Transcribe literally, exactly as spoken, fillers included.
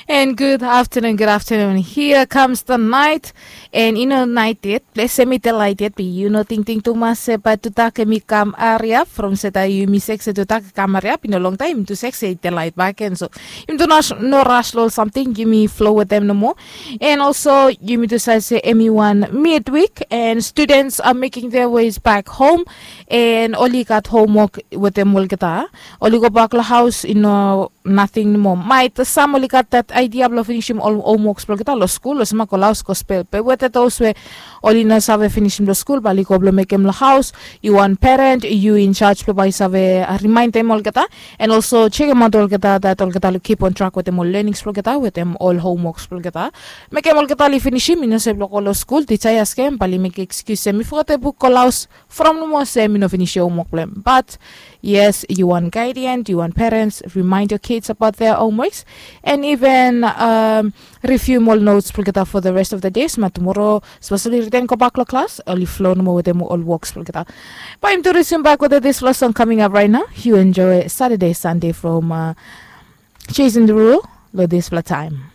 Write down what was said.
And good afternoon, good afternoon. Here comes the night. And i no nait yet, ples em i delaet yet, be yu no tingting tumas se bae tudak em i kam ariap from se taem yumi sek se tudak i kam ariap, i no longtaem yumi tu sek se i delaet bakegen. So yumi tu no ras long ol samting, yumi flo wetem nomo. And also yumi tu save se em i wan midwik, and students are making their ways back home. And oli gat homwok wetem olgeta, oli gobak long haos, i no nating nomo. Maet sam oli gat dat aidia blong finisim ol homwoks blong olgeta long skul, olsem bae go long haos go spel. Be wetem dos we oli no save finisim long skul, bae oli go blong mekem long haos. Yu wan peren, yu in charge blong bae yu save rimaendem olgeta, and also jekemaot olgeta dat olgeta oli kip on trak wetem ol lenings blong olgeta, wetem ol homwoks blong olgeta. Mekem olgeta oli finisim, i no se blong go long skul, tija i askem, bae oli mekem ekskius se mi fogetem buk go long haos, from nomo se mi no finisim homwok blong hem. But yes, yu wan gaedian, yu wan perens, remind your kids about their homeworks, and even um, review ol notes blong olgeta for the rest of the day, so bae tumoro, speseli riten gobak long klas, oli flo nomo wetem ol woks blong olgeta. Bae yumi tu resume back wetem dispela song coming up right now. You enjoy Saturday, Sunday from uh, Jason Derulo long dispela taem.